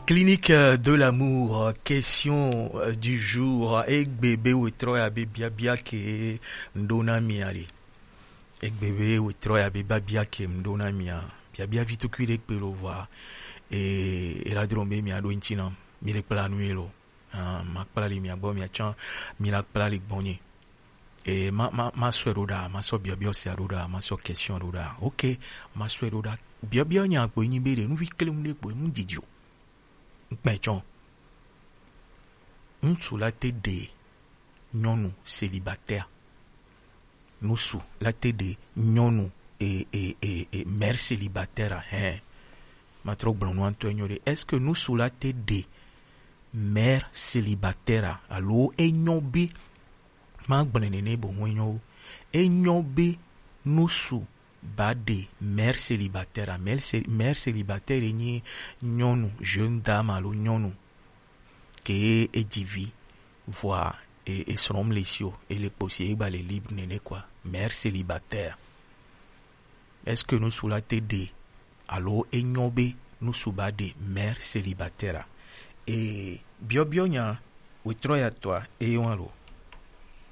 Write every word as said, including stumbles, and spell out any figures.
Clinique, euh, de l'amour, euh, question, euh, du jour, euh, egbe be wetrɔ ya be biabia ke ŋɖo na mia ɖe. Egbe be wetrɔ ya be biabia ke ŋɖo na mia. Biabia vi tukui ɖe kpe lo vɔa. E, e la dro be mia ɖo ŋtsi na. Mi le kpla nu ye lo. Ah, ma kpla li mia gbɔ mia tsã, mi la kpla li gbɔnye. E, ma, ma, ma sɔe ɖo ɖa, ma sɔ biɔbiɔ sia ɖo ɖa, ma sɔ question ɖo ɖa. Ok, ma sɔe ɖo ɖa. Biɔbiɔ nya kpo nyi be ɖe, nu vi kle nu ɖe kpo, nu didi o. Ŋkpɛ tsɔ. Ŋutsu la te ɖe nyɔnu célibataire. Ŋutsu la te ɖe nyɔnu e, e, e, e, mère célibataire a, hɛn. Ma trɔ gblɔ nua ŋutɔ enyo ɖe. Est-ce que ŋutsu la te ɖe mère célibataire a? Alo enyo be, ma gblɔ nene bo ŋu enyo o. Enyo be ŋutsu ba ɖe mère célibataire a. Mère cé-, mère célibataire nyi nyɔnu jeune dame alo nyɔnu ke e dzi vi, vɔa e, e srɔ̃m le si o, e le kpo si e gba le libre nene quoi. Mère célibataire. Est-ce que ŋutsu la te ɖe alo enyo be ŋutsu ba ɖe mère célibataire a? E biɔbiɔ nya wetrɔ ya tɔa e wa lo.